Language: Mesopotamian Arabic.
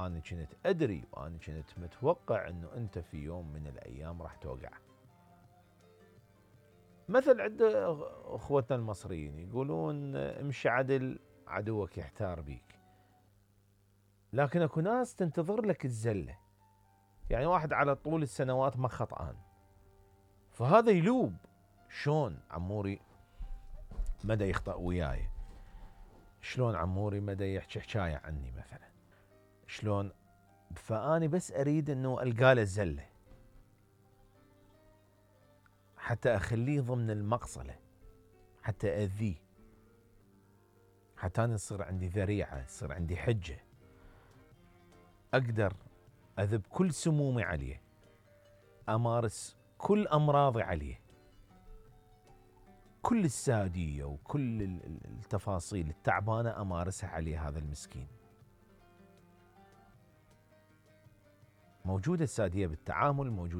وأنا كنت أدري وأنا كنت متوقع أنه أنت في يوم من الأيام راح توقع. مثل عند أخوتنا المصريين يقولون امشي عدل عدوك يحتار بيك. لكن اكو ناس تنتظر لك الزلة، يعني واحد على طول السنوات ما خطأان، فهذا يلوب شلون عموري مدى يخطأ وياي، شلون عموري مدى يحكي حكاية عني مثلا، شلون. فأني بس أريد أنه ألقاله الزلة حتى أخليه ضمن المقصلة، حتى أذيه، حتى أنا يصير عندي ذريعة، يصير عندي حجة، أقدر أذب كل سمومي عليه، أمارس كل أمراضي عليه، كل السادية وكل التفاصيل التعبانة أمارسها عليه. هذا المسكين موجودة السادية بالتعامل، موجودة